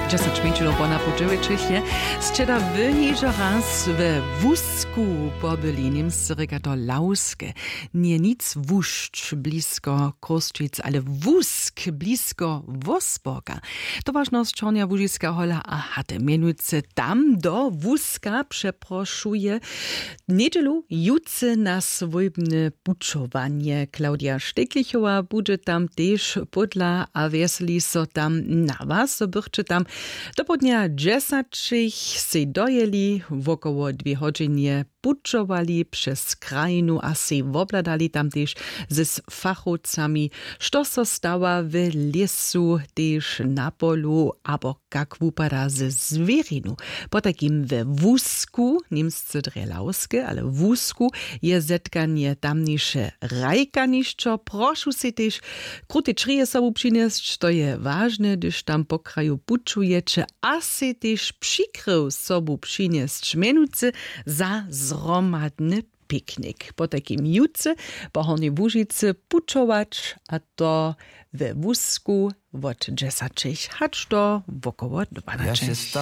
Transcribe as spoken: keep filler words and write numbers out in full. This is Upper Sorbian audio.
Dźesać mjeńšinow po napoł dźewjećich je. Sće da wy hižo raz we Wusku pobyli? Němscy rěka to Lauske. Njeje nic wušć blisko Chrósćic, ale Wusk blisko Wosborka. Towaršnosć Hornja Łužiska, Hola a Haty mjenujcy tam do Wuska přeprošuje njedźelu jutře na swójbne pućowanje. Claudia Šteklichowa budźe tam tež pódla a wjeseli so tam na was, zo bychće tam dopołdnja dźesaćich sej dojěli, wokoło dwě hodźinje pućowali přez krajinu a sej wobhladali tam tež z fachowcami, što so stawa w lěsu, tež na polu abo kak wupada ze zwěrinu. Potajkim we Wusku, němsce drje Lauske, ale w Wusku, je zetkanje tamniše hrajkanišćo. Prošu sej tež krute črije sobu přinjesć, to je wažne, hdyž tam po kraju pućujeće, a sej tež přikryw sobu přinjesć, mjenujcy za zhromadny piknik. Potajkim jutře po Hornjej Łužicy pućować, a to we Wusku wot dźesaćich hač do wokoło dwanaćich.